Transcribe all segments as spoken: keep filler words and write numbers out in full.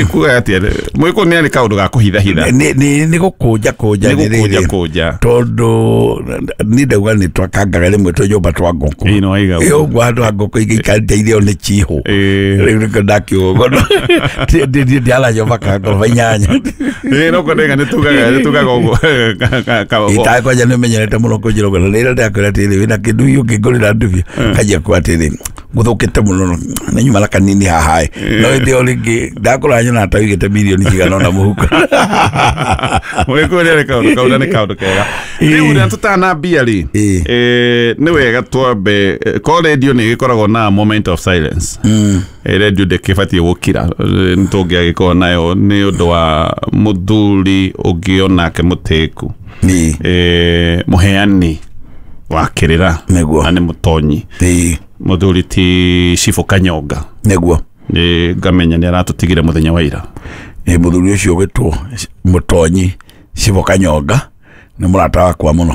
Ikuga atia mwiko ni ari kaundu ga kuhithahitha nĩ nĩ nĩ gũkũnja kũnja nĩ gũkũnja rĩrĩ. Kũnja. Tondũ niĩ ndauga nĩ twakangaga rĩmwe twĩ nyũmba twa ngũkũ. Ĩĩ, no waiga Ĩ ũguo. Ũguo handũ ha ngũkũ ingĩ ikarĩte irio nĩ chihũ. Ĩĩ. Rĩu nĩkĩo ndakiuga ũguo ndiara nyũmba ka ngoroba inyanya. Ĩĩ, no kwendeka nĩ tugaga nĩ tugaga ũguo. Ka- ka- ka- Itaĩ kwanja nĩ ũmenyerete mũno kũnjĩra ũguo na rĩrĩa ndakwĩra atĩrĩ wĩna kĩndũ hiũ ũngĩngũrĩra ndubia kanjia kuga atĩrĩ gũthũkĩte mũno nĩ nyuma na kanini haha ĩ no hĩndĩ ĩyo rĩngĩ ndakũra nyona ta ũigĩte mirioni cigana ũna mũhuko. Mwiko nĩ arĩ kaũndũ kau na nĩ kaũndũ kega rĩu rĩrĩa tũtanambia rĩ. Ĩĩ. eh, nĩ wega twambe eh, ko radio nĩ ĩgĩkoragwo na moment of silence. Eh, radio ndĩkĩbatiĩ gũkira. Eh, nĩ tũngĩagĩkorwo nayo nĩ ũndũ wa mũthuri ũngĩ onake mũtĩku, Ĩĩ. eh, mũheani wa kĩrĩra Nĩguo. na nĩ mũtonyi, Ĩĩ. mũthuri ti Cibũ Kanyonga. Nĩguo. Nĩ ngamenya nĩ aratũtigire mũthenya wa ira. Ĩ mũthuri ũcio ũgĩtwo mũtonyi Cibo Kanyonga nĩ mũrata wakwa mũno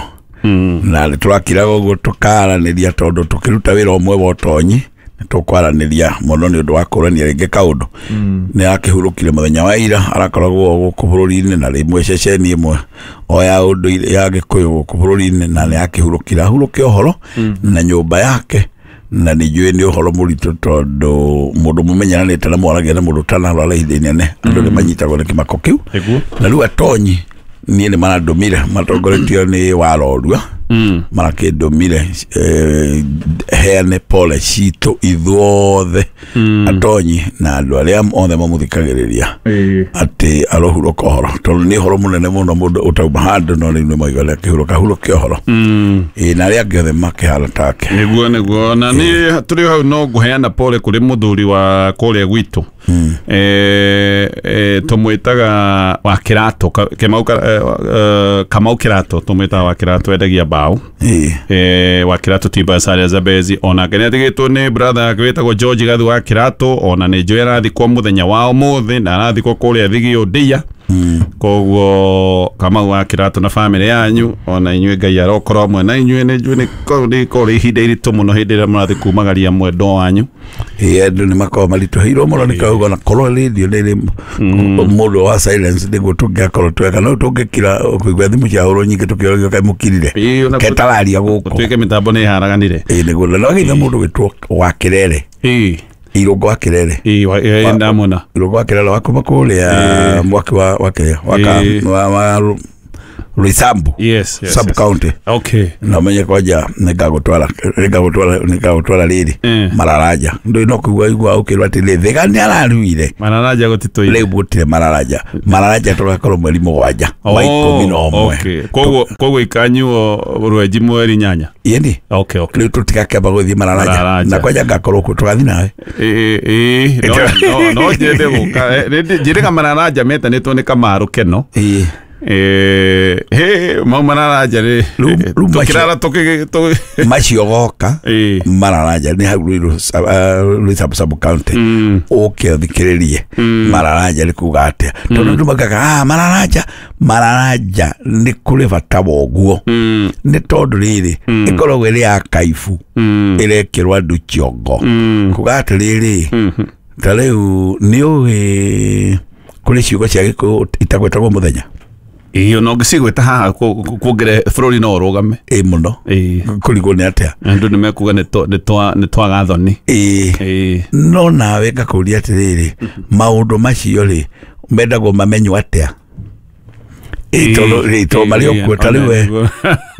na nĩ tũrakiraga ũguo tũkaranĩria tondũ tũkĩruta wĩra ũmwe wa ũtonyi nĩ tũkwaranĩria mũno nĩ ũndũ wa kũrania rĩngĩ kaũndũ. Nĩ akĩhurũkire mũthenya wa ira. Arakoragwo gũkũ bũrũri-inĩ na rĩmwe ceceni ĩmwe o ya ũndũire ya Gĩkũyũ gũkũ bũrũri-inĩ na nĩ akĩhurũkire ahurũke ũhoro na nyũmba yake na nĩ njũĩ nĩ ũhoro mũritũ tondũ mũndũ mũmenyeranĩte na mwaragia na mũndũ ũtanarwara ihinda inene andũ nĩ manyitagwo nĩ kĩmako kĩu. Nĩguo. Na rĩu atonyi niĩ nĩ marandũmire matongoretio nĩ Warorua marakĩndũmire eh, heane pole citũ ithuothe atonyi na andũ arĩa othe mamũthikagĩrĩria atĩ arohurũka ũhoro tondũ nĩ ũhoro mũnene mũno mũndũ ũtauma handũ no rĩu nĩ maiga akĩhurũka hurũke ũhoro. Ĩ na arĩa angĩ othe makĩhana take. Nĩguo nĩguo na nĩ tũrĩ hau no ngũheana pole kũrĩ mũthuri wa kũrĩa gwitũ, eh, eh, tũmwĩtaga wa Kĩratũ. Ka- Kĩmau ka- eh, eh, Kamau Kĩratũ tũmwĩtaga wa Kĩratũ endagia mbaũ. Ĩ. eh, wa Kĩratũ Timbers harĩa Zambezi onake nĩ atigĩtwo nĩ brother yake wĩtagwo George Gathu wa Kĩratũ ona nĩ njũĩ arathikwo mũthenya wa ũmũthĩ na arathikwo kũrĩa Thigio Ndia. Koguo Kamau wa Kĩratũ na famĩlĩ yanyu ona inyuĩ Ngai arokorwo hamwe na inyuĩ. Nĩ njũĩ nĩ korwo nĩ korwo ihinda iritũ mũno hĩndĩ ĩrĩa mũrathiĩ kumagaria mwendwa wanyu. Ĩ andũ nĩ makoragwo maritũhĩirwo mũno nĩ kauga na korwo radio nĩ ĩrĩ mũndũ wa silence nĩguo tũngĩakorwo tweka no tũngĩkira kũigua thimũ ciahũrwo nyingĩ tũkĩũragio kaĩ mũkirire Ĩ, ona ketararia gũkũ. Gũtuĩke mĩtambo nĩ ĩharaganire. Ĩ nĩguo na wagĩitha mũndũ gwĩtwo wa Kĩrere. Ĩ. Irũngo wa Kĩrere. Ĩ wa- ĩ, ndamona. Irũngo wa Kĩrere wa kuma kũrĩa mwaki wa wa kĩrĩa wa ka- Ĩ. wa wa Roysambu yes, yes, sub yes. county. Okay na ũmenye kwanja nĩngagũtwara nĩngagũtwara nĩngagũtwara rĩrĩ Eh. Mararaja ndũĩ no kũigua igua ũkĩrwo atĩ rĩ Thĩga nĩ araruire. Mararaja gũtitũire. Rĩu gũtirĩ Mararaja. Mararaja tũgakorwo mweri mũgwanja wa ikũmi na ũmwe. Okay. koguo koguo ikanyuo rwenji mweri nyanya. Ĩni. okay okay Rĩu tũtigakĩamba gũthiĩ Mararaja. Mararaja. Na kwanja ngakorwo kuo tũgathiĩ nawe. Ĩ ĩ no no no njende gũka. Eh, nĩ- njĩrĩga Mararaja metanĩtwo nĩ Kamaru Keno. Ĩĩ. Eh, he mau Mararaja rĩ Rĩu- rĩu macio- tũkĩrara tũkĩ tũ- macio goka Ĩĩ. Mararaja nĩ hau Ruiru Ruisambu sub county ũke ũthikĩrĩrie Mararaja nĩ kuga atĩa tondũ andũ maugaga ah Mararaja Mararaja nĩ kũrĩ bata wa ũguo nĩ tondũ rĩrĩ ĩkoragwo ĩrĩ ya kaibu ĩrekĩrwo andũ kĩongo kuga atĩrĩrĩ ta rĩu nĩ ũĩ kũrĩ ciugo cia Gĩkũyũ itagwetagwo mũthenya. Ĩĩ, ona ũngĩcigwĩta haha kuongere bũrũri no ũrũgame. Ĩ mũno. Ĩĩ. Kũrigwo nĩ atĩa. Andũ nĩ mekuga nĩ twa- nĩ twa- nĩ twaga thoni. Ĩĩ. Ĩĩ. No nawe ngakũria atĩrĩrĩ maũndũ macio rĩ mendagwo mamenywo atĩa? Ĩ tondũ rĩ tondũ marĩ o kuo ta rĩu we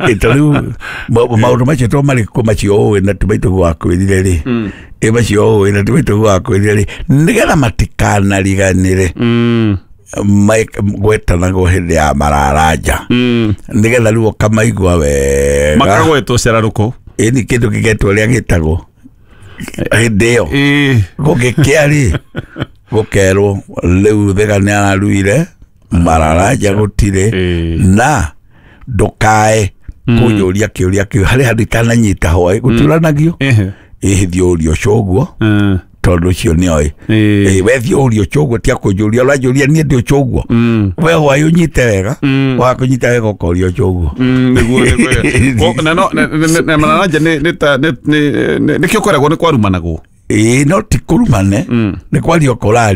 ĩ ta rĩu ma- maũndũ macio to marĩ kuo macio ũĩ na ti maitũguo wakwĩrire rĩ ĩ macio ũĩ na ti maitũguo wakwĩrire rĩ nĩgetha matikanariganĩre Mm, ma- gwetanagwo hĩndĩ ya Mararaja mm. nĩgetha rĩu ũkamaigua wega. Makagwetwo cerarũkũ. Ĩni kĩndũ kĩgetwo ũrĩa gĩtagwo hĩndĩ ĩyo Ĩĩ. gũgĩkĩa rĩ gũkerwo rĩu Thĩga nĩ araruire Mararaja gũtirĩ. Ĩĩ. Na ndũkae kũnjũria kĩũria kĩu harĩ handũ itananyita hwaĩ gũtiũranagio. Ehe. Ĩhĩ thiĩ ũrie ũcio ũguo Mm. tondũ ũcio nĩoĩ. Ĩĩ. Ĩĩ, we thiĩ ũrie ũcio ũguo tia kũnjũria ũranjũria niĩ ndĩ ũcio ũguo Mm. we hwaĩ ũnyite wega Mm. wakũnyita wega ũkoria ũcio ũguo. Mm, nĩguo nĩguo. Ko- na no na- na- na Mararaja nĩ nĩ ta nĩ nĩ nĩ- nĩkĩo kweragwo nĩ kwarumanagwo. Ĩĩ no ti kũrumane nĩ kwaria ũkũraria.